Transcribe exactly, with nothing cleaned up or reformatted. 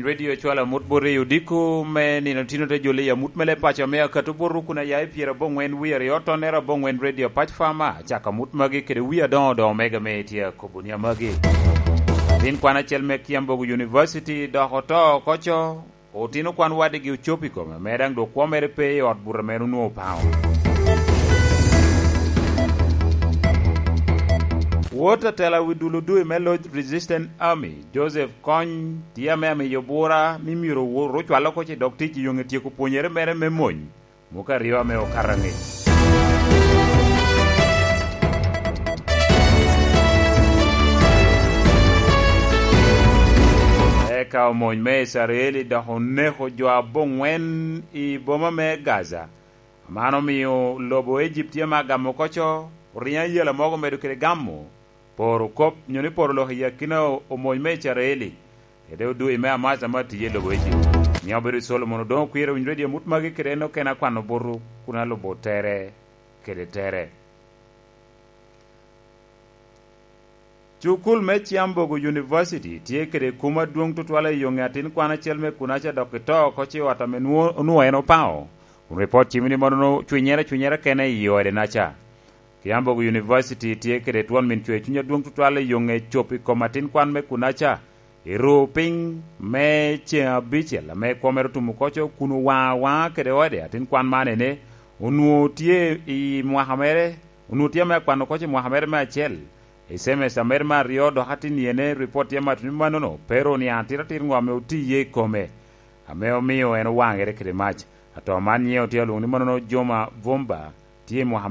Radio cwalo amut bot i odiko me nino tino te joli i amut me leb paco me akato bot rukuna ya i pyera aboŋwen wie aryo tonnere aboŋwen Radio Pac Fama, cako amut magi kede wie adoŋo doŋo mega me itye akobo ni amagi. Tin kwan acel me Kiambogo University dok oto oko co, otino kwan wadigi ocopo i kome, me daŋ dok kwo mere pe i ot buto mere onwoŋo paŋo. Wot atela wi dulo dwe me loc Resistance Army, Joseph Kony, tye ame amiyo bura ni myero wot ocwal oko ce dok tic i yoŋe tyeko pwonyere mere me mony, muka aryo ame okato angec. Eka omony me Icrael dok oneko jo aboŋwen i boma me Gaza. Man omio lobo Ejipti ame agamo oko co, oriŋo ayela mogo medo kede gamo, poro kop, nyo ni poro lok i akina omony me Icrael, kede odui me Hamas ame atiye i lobo Ejipti. Nyo obedo Solomon odoŋo kwiro winyo redio amut magi kede en okene akwano butu, kun alubo tere kede tere. Cukul me Kiambogo University tye kede kum adwoŋ tutwal i yoŋe atin kwan acel me kunaca dok ito oko ci ot ame nwo-, onwoŋo en opaŋo. Kun ripot cimo ni mono cwinyere cwinyere kene i ode naca. Kiambogo University tye kede twon min cwer cuny adwoŋ tutwal i yoŋe cop i kom atin kwan me kunaca, i ru piny me ceŋ abicel ame kwo mere otumo koco kun owaŋa awaŋa kede ode atin kwan man ene, onwoŋo tye i mwaka mere, onwoŋo tye ame akwano koco i mwaka mere me acel. I cemester mere me aryo dok atin iyene ripot tye amato ni mannono pe ru niaŋ atiratir ŋo ame oti iye i kome, ame omio en owaŋere kede mac. Ato man nyiŋe otye alwoŋo ni mannono Joma Vumba, tye i mwaka